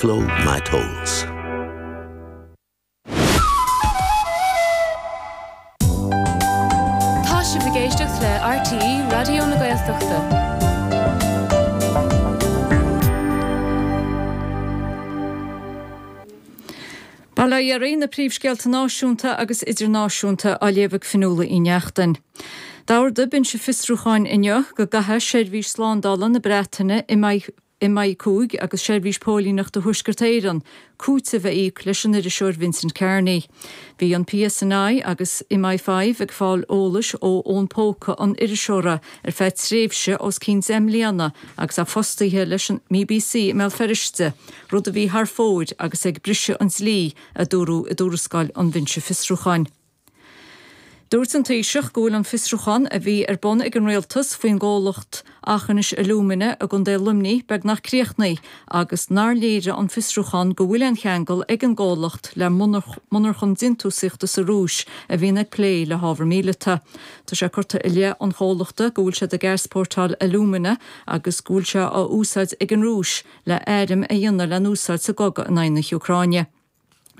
Flow my tolls. Tá sibh ag éisteacht le RTÉ Raidió na Gaeltachta. Bail ó Dhia oraibh, na príomhscéalta náisiúnta agus idirnáisiúnta á léamh ag Fionnuala Uí Neachtain. D'ordaigh Binse Fiosrúcháin inniu go gcaithfidh Seirbhís Slándála na Breataine MI5 agus Seirbhís Póilíneachta Thuaisceart Éireann cúiteamh a íoc leis an iriseoir Vincent Kearney. Bhí an PSNI agus MI5 ag fáil eolais ó fhón póca an iriseora ar feadh tréimhse os cionn 10 mbliana agus é fostaithe leis an mBBC i mBéal Feirste, rud a bhí thar fóir agus ag briseadh an dlí, a dúradh i dtuarascáil an Bhinse Fiosrúcháin. Dúirt an Taoiseach go bhfuil an fiosrúchán a bhí ar bun ag an Rialtas faoin gcomhlacht Aughinish Alumina i gContae Luimnigh beagnach críochnaithe agus nár léirigh an fiosrúchán go bhfuil aon cheangal ag an gcomhlacht le monarchan déantúsaíochta sa Rúis a bhíonn ag plé le hábhar míleata. Tá sé curtha i leith an chomhlachta go bhfuil siad ag easpórtáil alúmana agus go bhfuil sé á úsáid ag an Rúis le airm a dhéanamh le n-úsáid sa gcogadh in aghaidh na hÚcráine.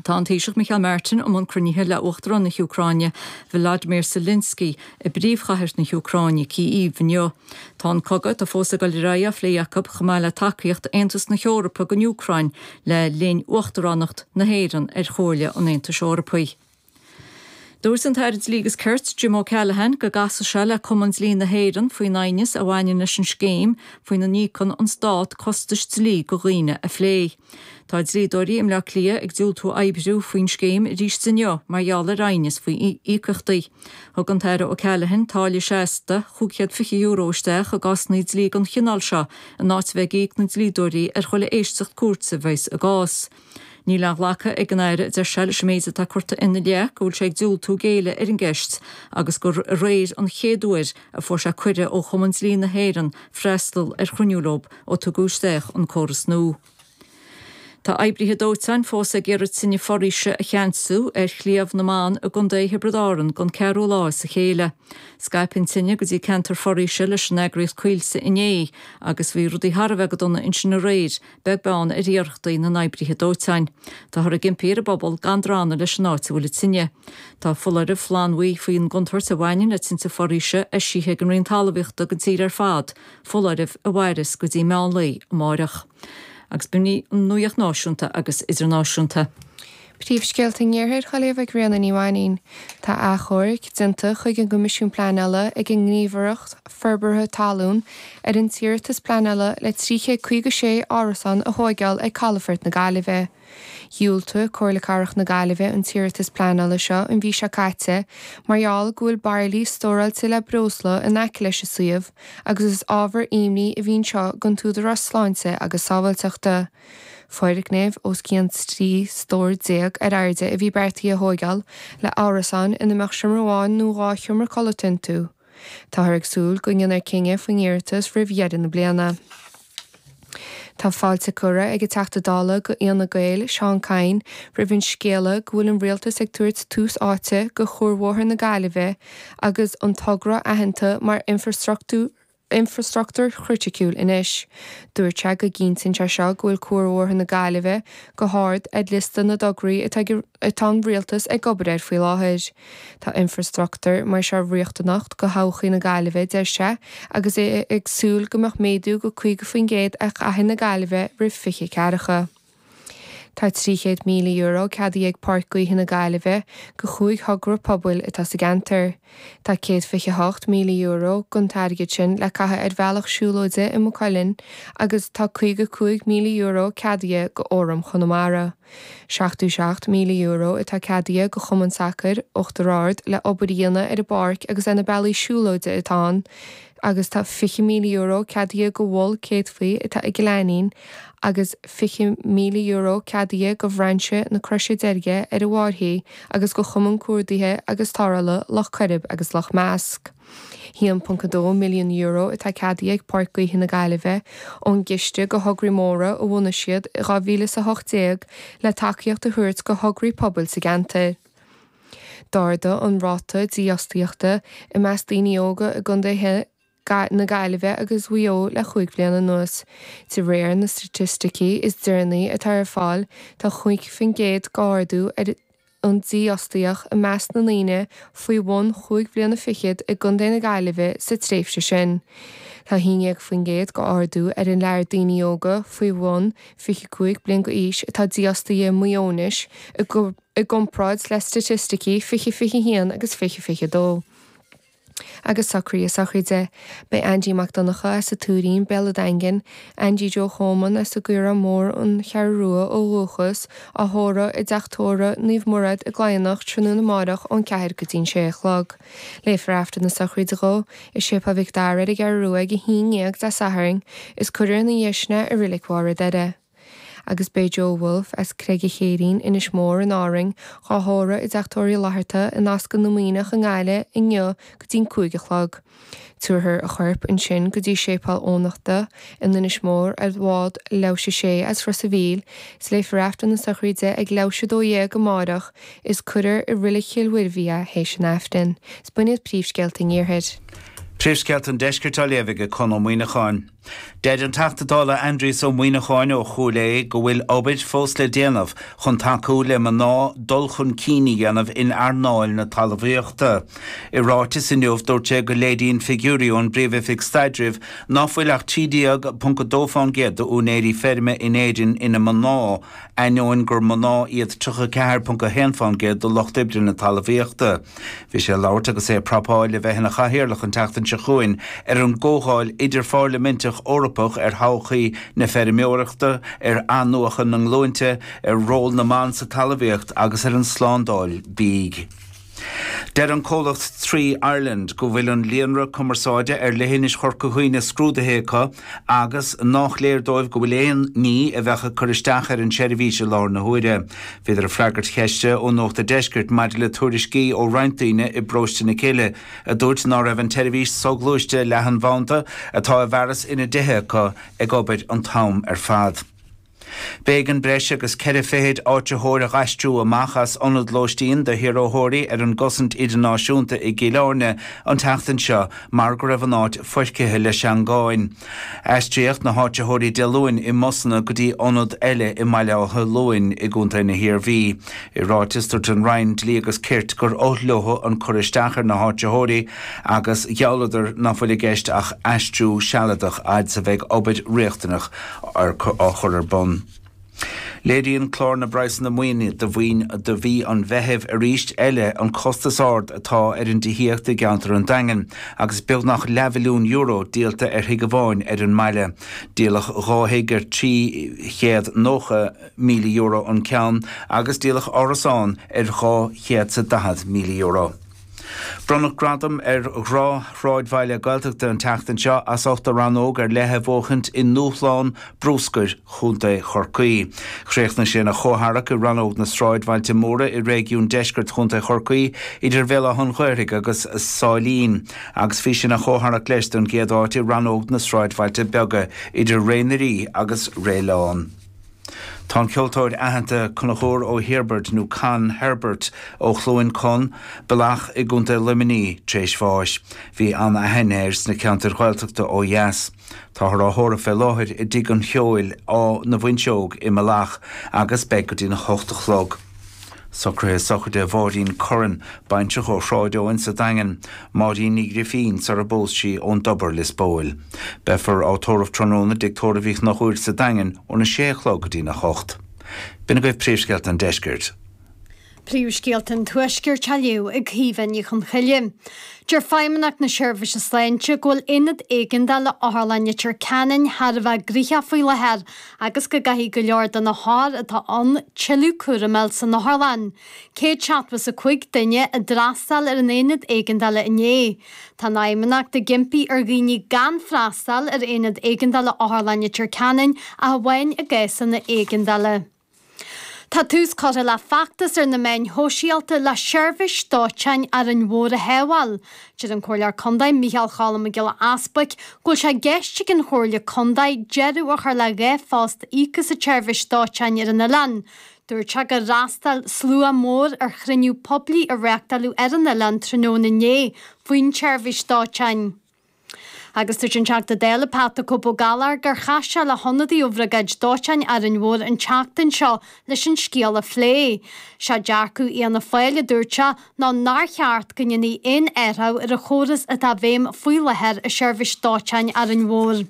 Tá an Taoiseach Micheál Martin i mbun cruinnithe le Uachtarán na hÚcráine, Volodymyr Zelensky, i bpríomhchathair na hÚcráine, Kyiv, inniu. Tá an cogadh atá fós ag dul ar aghaidh á phlé acu chomh maith le tacaíocht Aontas na hEorpa don Úcráin le linn uachtaránacht na hÉireann ar Chomhairle an Aontais Eorpaigh. Dúirt an tAire Dlí agus Cirt, Jim O'Callaghan, go gcasfaidh sé le Cumann Dlí na hÉireann faoin aighneas a bhaineann leis an scéim faoina n-íocann an Stát costais dlí do dhaoine a phlé. Tá dlíodóirí i mBleá Cliath ag diúltú oibriú faoin scéim arís inniu mar gheall ar aighneas faoi íocaíochtaí. Thug an tAire O'Callaghan táille seasta €520 isteach i gcásanna dlí den chineál seo in áit a bheith ag íoc na ndlíodóirí ar chuile éisteacht cúirte a bheas i gcás. Níl aon ghlacadh ag an Aire, a deir sé, leis an méid atá curtha ina leith go bhfuil sé ag diúltú géilleadh ar an gceist agus gur aréir an chéad uair a fuair sé cuireadh ó Chumann Dlí na hÉireann freastal ar chruinniú leo ó tugadh isteach an córas nua. Tá oibrithe dóiteáin fós ag iarraidh tine foraoise a cheansú ar Shliabh na mBan i gContae Thiobraid Árann don ceathrú lá as a chéile. Scaip an tine go dtí ceantar foraoise leis an eagraíocht Coillte inné agus bhí rudaí thar a bheith go dona ansin aréir beag beann ar iarrachtaí na n-oibrithe dóiteáin. Táthar ag impí ar an bpobal gan drannadh leis an áit a bhfuil an tine. Tá foláireamh flannbhuí faoin gcontúirt a bhaineann le tinte foraoise eisithe ag an Roinn Talmhaíochta don tír ar fad, foláireamh a mhairfeas go dtí meán lae amáireach. Agus b'in í an nuacht náisiúnta agus idirnáisiúnta. Príomhscéalta an Iarthair á léamh ag Ríona Ní Mhainín. Tá achomharc déanta chuig an gCoimisiún Pleanála ag an nGníomhaireacht Forbartha Talún ar an t-iarratas pleanála le 356 árasán a thóigeáil ag Calafort na Gaillimhe. Dhiúltaigh Comhairle Cathrach na Gaillimhe an t-iarratas pleanála seo an mhí seo caite mar gheall go bhfuil bairillí stóráilte le breosla in aice leis an suíomh agus is ábhar imní a bhí anseo don t-údarás sláinte agus sábháilteachta. Foirgneamh os cionn 13 stór ar airde a bhí beartaithe a thóigeáil le árasáin ina mbeadh seomra amháin nó 2 sheomra codlata iontu. Táthar ag súil go ndéanfar cinneadh faoin iarratas roimh dheireadh na bliana. Tá fáilte curtha ag an Teachta Dála do Fhianna Gael, Seán Kyne, roimh an scéala go bhfuil an Rialtas ag tabhairt tús áite do Chuarbhóthar na Gaillimhe agus an togra aitheanta mar infreastruchtúr infreastruchtúr chriticiúil anois. Dúirt sé go gcinntíonn sé seo go bhfuil Cuarbhóthar na Gaillimhe go hard ar liosta na dtograí atá atá an Rialtas ag obair air faoi láthair. Tá infreastruchtúr mar seo riachtanach do thodhchaí na Gaillimhe, deir sé, agus é ag súil go mbeadh méadú go 50% ar chathair na Gaillimhe roimh 2040. Tá €300,000 ceadaithe ag Páirc Gaoithe na Gaillimhe do chúig thogra pobail atá sa gceantar. Tá €128,000 den t-airgead sin le caitheamh ar bhealach siúlóide i Maigh Cuilinn agus tá €55,000 ceadaithe do Fhóram Chonamara. €77,000 atá ceadaithe do Chumann Sacair Uachtar Ard le obair a dhéanamh ar an bpáirc agus ar na bealaí siúlóide atá ann agus tá €20,000 ceadaithe do Mhol Céadfaí atá i gCill Ainnín agus €20,000 ceadaithe do Bhrainse na Croise Deirge ar an bhFairche agus do Chumann Cuardaithe agus Tarrthála Loch Coirib agus Loch Measc. €1.2 milliún atá ceadaithe ag Páirc Gaoithe na Gaillimhe ón gciste do thograí móra a bhunaigh siad i 2018 le tacaíocht a thabhairt do thograí pobail sa gceantar. D'ardaigh an ráta dífhostaíochta i measc daoine óga i gcontaetha. na Gaillimhe agus Mhaigh Eo le chúig bhliana anuas. De réir na staitisticí is deireanaí atá ar fáil, tá 5% d'ardú ar an dífhostaíocht i measc na ndaoine faoi bhun chúig bhliana fichead i gContae na Gaillimhe sa tréimhse sin. Tá 11% d'ardú ar an lear daoine óga faoi bhun 25 bliain d'aois atá dífhostaithe i Maigh Eo anois i gcomparáid le staitisticí 2021 agus 2022. Agus socruithe sochraide. Beidh Aindí Mac Donncha as an Tuairín, Béal an Daingin, Aindí Joe Choman as an gCaorán Mór, An Cheathrú Rua ó dhúchas, á thórramh i dTeach Tórraimh Naomh Murad i gCladhnach tráthnóna amáireach ón 4 go dtí'n 6 a chlog. Léifear Aifreann na sochraide dhó i Séipéal Mhic Dara ar an gCeathrú Rua ag 11 Dé Sathairn is cuirfear ina dhiaidh sin é i Reilig Bharr an Doire. Agus beidh Joe Wolfe as Creig an Chéirín, Inis Mór in Árainn, dhá thórramh i dTeach Tórraimh Uí Fhlatharta in Ascaill na Muimhneach i nGaillimh inniu go dtí'n 5 a chlog. Tabharfar a chorp ansin go dtí Séipéal Eoghanachta in Inis Mór ar bhád leathuair théis a sé as Ros a' Mhíl is léifear Aifreann na sochraide ag leathuair théis a 12 amáireach is cuirfear i Reilig Chill Mhuirbhigh é théis an Aifrinn. Is b'in iad príomhscéalta an Iarthair. Príomhscéalta an Deiscirt á léamh ag Conn Ó Muíneacháin. Deir an Teachta Dála Aindrias Ó Muíneacháin ó Chúil Aodha go bhfuil obair fós le déanamh chun tacú le mná dul chun cinn a dhéanamh in earnáil na talmhaíochta. I ráiteas inniu dúirt sé go léiríonn figiúirí ón bPríomh-Oifig Staidrimh ná fuil ach 13.2% d'úinéirí feirme in Éirinn ina mná, ainneoin gur mná iad 34.1% de lucht oibre na talmhaíochta. Bhí sé ag labhairt agus é ag prapáil le bheith ina chathaoirleach an tseachtain seo chugainn ar an gComhdháil Idirphairliminteach Eorpach ar thodhchaí na feirmeoireachta, ar athnuachan na nglúinte, ar ról na mban sa talmhaíocht agus ar an tslándáil bídh. Deir an comhlacht Three Ireland go bhfuil an líonra cumarsáide ar leithinis Chorca Dhuibhne scrúdaithe acu agus nách léir dóibh go bhfuil aon ní a bheadh ag cur isteach ar an tseirbhís i láthair na huaire. Bhíodar ag freagairt cheiste ó Nuacht an Deiscirt maidir le tuairiscí ó roinnt daoine i bparóiste na Cille a dúirt ná raibh an tseirbhís soghluaiste leathanbhanda atá i bhfearas ina dtithe acu ag obair an t-am ar fad. B'éigean breis agus ceithre fichid áitritheoir a dh'aistriú amach as ionad lóistín do shaorthóirí ar an gcosaint idirnáisiúnta i gCill Airne an tseachtain seo mar go raibh an áit foircithe le seangáin. Aistríodh na háitritheoirí Dé Luain i mbusanna go dtí ionad eile i mBaile Átha Luain i gContae na hIarmhí. I ráiteas, dúirt an Roinn Dlí agus Cirt gur oth leo an cur isteach ar na háitritheoirí agus ghealladar ná fuil i gceist ach aistriú sealadach fhad 's a bheidh obair riachtanach á chur ar bun. Léiríonn clár na bpraghsanna maoine do do mhí an Mheithimh arís eile an costas ard atá ar an dtithíocht i gceantar an Daingin agus beagnach leathmhilliún euro díolta ar thigh amháin ar an mbaile. Díoladh 2 thigh ar €390,000 an ceann agus díoladh árasán ar €240,000. Bronnadh gradam ar ghnáthshráidbhaile Gaeltachta an tseachtain seo as ucht a rannóg ar leith a bhuachaint i nDúshlán Bruscair Chontae Chorcaí. Chríochnaigh sé ina chomhtharrac i rannóg na sráidbhailte móra i réigiún deiscirt Chontae Chorcaí idir Bhéal Átha an Ghaorthaidh agus Sáilín agus bhí sé ina chomhtharrac leis don gcéad áit i rannóg na sráidbhailte beaga idir Ré na Rí agus Réileán. Tá an ceoltóir aitheanta Conchúr Ó hIorbaird, nó Con Herbert, ó Chluain Con, Bealach i gContae Luimnigh, tar éis bháis. Bhí an-aithne air sna ceantair Ghaeltachta ó dheas. Táthar á thórramh fé láthair i dTigh an Cheoil, Áth na bhFuinseog i mBealach agus beidh go dtí'n 8 a chlog. Socruithe sochraide Mháirín Curran, baintreach ó Shráid Eoin sa Daingean, Máirín Ní Ghrifín sar a bpós sí ón dTobar, Lios Póil. Beifear á tórramh tráthnóna i dTigh Tórraimh Uí Chonchúir sa Daingean óna sé a chlog go dtína hocht. B'in agaibh príomhscéalta an deiscirt. Príomhscéalta an Tuaiscirt á léamh ag Caoimhe Ní Chonchoille. Deir Feidhmeannacht na Seirbhíse Sláinte go bhfuil aonad éigeandála Otharlann Leitir Ceanainn thar a bheith gnoitheach faoi láthair agus go gcaithfidh go leor de na hothair atá ann tuilleadh cúraim a fháil san otharlann. 175 duine a d'fhreastail ar an aonad éigeandála inné. Tá an Fheidhmeannacht ag impí ar dhaoine gan freastal ar aonad éigeandála Otharlann Leitir Ceanainn ach amháin i gcásanna éigeandála. Tá tús curtha le feachtas ar na meáin shóisialta le seirbhís dóiteáin Árainn Mhór a shábháil. Deir an Comhairleoir Contae Micheál Cholm Mac Giolla Easbuic go bhfuil sé i gceist ag an Chomhairle Contae deireadh a chur le 2 phost a íocadh sa tseirbhís dóiteáin ar an oileán. Dúirt sé gur fhreastail slua mór ar chruinniú poiblí a reáchtáladh ar an oileán tráthnóna inné faoin tseirbhís dóiteáin. Agus dúirt an Teachta Dála Pat 'The Cope' Ó Gallchóir gur chas sé le hionadaí ó Bhriogáid Dóiteáin Árainn Mhór an tseachtain seo leis an scéal a phlé. Sé dearcadh Fhianna Fáil, a dúirt sé, ná nár cheart go ndéanfaí aon athrú ar an chóras atá i bhfeidhm faoi láthair i seirbhís dóiteáin Árainn Mhór.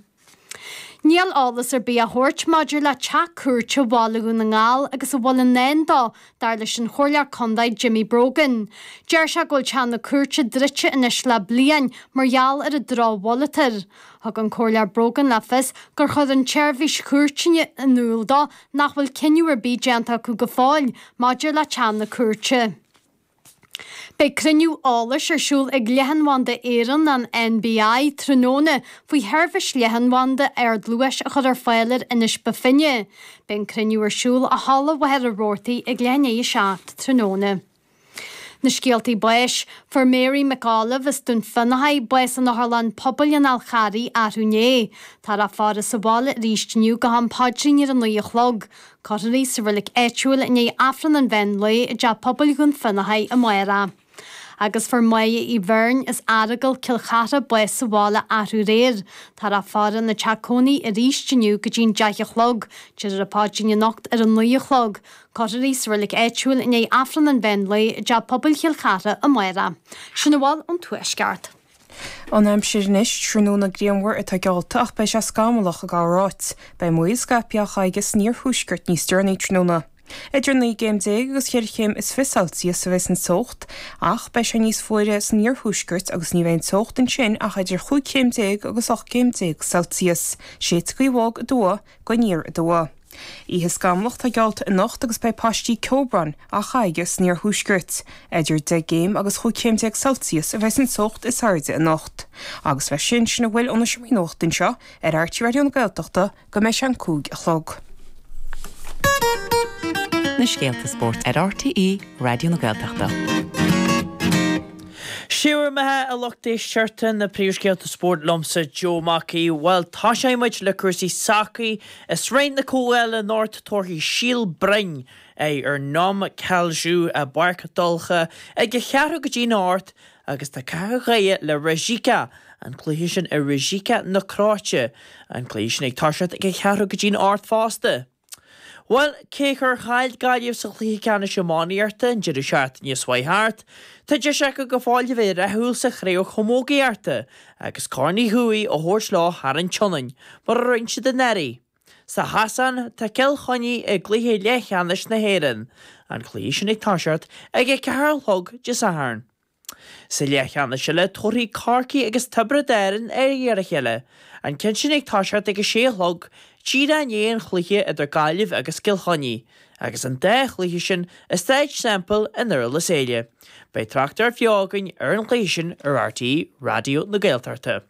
Níl eolas ar bith á thabhairt maidir le teach cúirte Bhaile Dhún na nGall agus a bhfuil i ndán dó, dar leis an Chomhairleoir Contae Jimmy Brogan. Deir sé go bhfuil teach na cúirte druidte anois le bliain mar gheall ar an drochsholáthar. Thug an Comhairleoir Brogan le fios gur chuir an tSeirbhís Chúirteanna in iúl dó nach bhfuil cinneadh ar bith déanta acu go fóill maidir le teach na cúirte. Beidh cruinniú eolais ar siúl ag Leathanbhanda Éireann, an NBI, tráthnóna faoi sheirbhís leathanbhanda ardluais a chur ar fáil ar Inis Bó Finne. Beidh an cruinniú ar siúl i Halla Mhachaire Rabhartaigh ag leath i ndiaidh a 7 tráthnóna. Na scéaltaí báis, Fuair Mary McAuliffe as Dún Fionnachaidh bás in Otharlann Pobail an Fháil Charraigh arú inné. Táthar á faire sa bhaile arís inniu go ham paidrín ar a 9 a chlog. Cuirfear í sa reilig áitiúil i ndiaidh Aifreann an mheán lae i dTeach Pobail Dhún Fionnachaidh amárach. Agus fuair Máire Uí Bheirn as Earagail, Cill Chartha, bás sa bhaile arú aréir. Táthar á faire ina teach cónaí arís inniu go dtí'n 10 a chlog. Déarfar an paidrín anocht ar a 9 a chlog. Cuirfear í sa reilig áitiúil i ndiaidh Aifreann an mheán lae i dTeach Pobail Chill Chartha amárach. Sin a bhfuil ón Tuaisceart. An aimsir anois, tráthnóna grianmhar atá geallta ach beidh sé scamallach i gcorr-áit. Beidh múichíl scaipthe á chaitheamh san iarthuaisceart níos deireanaí tráthnóna. Idir 19 gcéim agus cheithre chéim is fiche Celsius a bheidh an teocht ach beidh sé níos fuaire san iarthuaisceart agus ní bheidh an teocht ansin ach idir chúig chéim déag agus 18 céim Celsius. Séidfidh gaoth bhog aduaidh go aniar aduaidh. Oíche scamallach atá geallta anocht agus beidh paistí ceobhráin á chaitheamh san iarthuaisceart. Idir 10 gcéim agus 15 chéim Celsius a bheas an teocht is airde anocht. Agus leis sin, sin a bhfuil ó na Seomraí Nuachta anseo ar RTÉ Raidió na Gaeltachta go mbeidh sé an 5 a chlog. Na scéalta spóirt ar RTÉ Raidió na Gaeltachta. Sé bhur mbeatha a lucht éisteachta, na príomhscéalta spóirt liomsa Joe Mac Aoidh. Bhuel, tosóidh muid le cúrsaí sacair. I Sraith na Comhdhála anocht tabharfaidh Síol Broin aghaidh ar Nomme Kalju i bPáirc Donncha ag a cheathrú go dtí'n 8 agus tá Cathair Dhoire le Rijeka, an cluiche sin i Rijeka na Cróite, an cluiche sin ag toiseacht ag a cheathrú go dtí'n 8 fosta. Bhuel, cé gur chaill Gaillimh sa chluiche ceannais iománaíochta an deireadh seachtaine seo chuaigh thart, tá deis acu go fóill a bheith rathúil sa chraobh chamógaíochta agus Corn Uí Chuaig a thabhairt leo thar an tSionainn, mar a rinne siad anuraidh. Sa Chasán, tá Cill Chainnigh i gcluiche leathcheannais na hÉireann, an cluiche sin ag toiseacht ag a ceathair a chlog Dé Sathairn. Sa leathcheannais eile, tabharfaidh Corcaigh agus Tiobraid Árann aghaidh ar a chéile, an ceann sin ag toiseacht ag a sé a chlog, díreach i ndiaidh an chluiche idir Gaillimh agus Cill Chainnigh, agus an dá chluiche sin i Staid Semple i nDurlas Éile. Beidh tráchtaireacht bheo againn ar an chluiche sin ar RTÉ Raidió na Gaeltachta.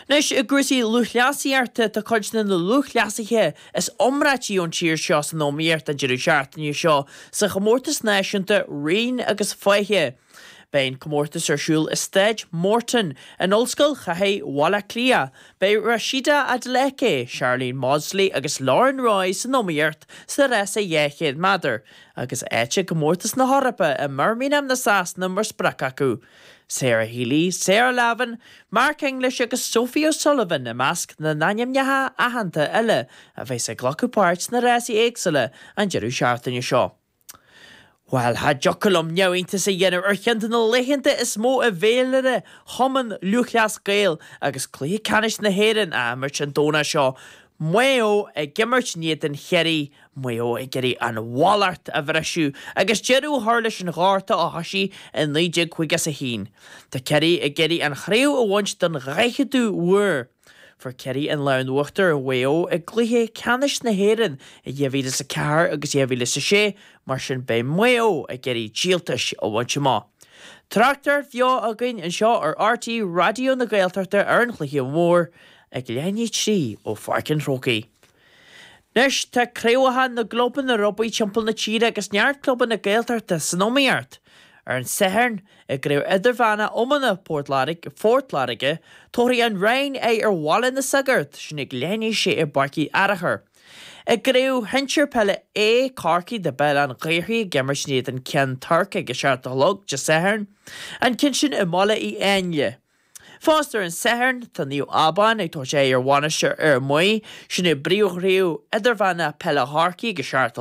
Anois, i gcúrsaí lúthchleasaíochta, tá cuid de na lúthchleasaithe is iomráití ón tír seo san iomaíocht an deireadh seachtaine seo sa chomórtas náisiúnta Raoin agus Faiche. Beidh an comórtas ar siúl i Staid Morton in Ollscoil Chathair Bhaile Átha Cliath. Beidh Rhasidat Adeleke, Sharlene Mawdsley agus Lauren Roy san iomaíocht sa rása 200 méadar agus áit i gcomórtas na hEorpa i mBirmingham na Sasana mar sprioc acu. Sarah Healy, Sarah Lavin, Mark English agus Sophie O'Sullivan i measc na n-ainmneacha aitheanta eile a bheas ag glacadh páirt sna rásaí éagsúla an deireadh seachtaine seo. Bhuel, cha dtiocfadh liom neamhiontas a dhéanamh ar cheann de na laethanta is mó i bhféilire Chumann Lúthchleas Gael agus Cluiche Ceannais na hÉireann á imirt an Domhnach seo, Maigh Eo ag imirt in éadan Chiarraí, Maigh Eo ag iarraidh an mhallacht a bhriseadh agus deireadh a chur leis an ghorta a thoisigh i 1951. Tá Ciarraí ag iarraidh an chraobh a bhaint don dhaicheadú huair. Fuair Ciarraí an lámh in uachtar ar Mhaigh Eo i gcluiche ceannais na hÉireann i 2004 agus 2006, mar sin beidh Maigh Eo ag iarraidh díoltais a bhaint amach. Tráchtaireacht bheo againn anseo ar RTÉ Raidió na Gaeltachta ar an chluiche mór. Ag leath i ndiaidh 3 ó Pháirc an Chrócaigh. Anois tá craobhacha na gclubanna rugbaí timpeall na tíre agus neart clubanna Gaeltachta san iomaíocht. Ar an Satharn, i gCraobh Idirmheánach Iomána Phort Láirge, Phort Láirge, tabharfaidh an Rinn aghaidh ar Bhaile na Sagart, sin ag leath i ndiaidh a sé i bPáirc Uí Fhearachair. I gCraobh Shinsir Peile A, Corcaigh, tá Béal Átha an Ghaorthaidh ag imirt in éadan Ceann Toirc ag a 7 a chlog Dé Sathairn, an ceann sin i mBaile Uí Áinle. Fosta ar an Satharn, tá Naomh Abán ag tabhairt aghaidh ar Mhainistir Fhear Maí, sin i bPríomhchraobh Idirmheánach Peile Chorcaí ag a 7 a chlog.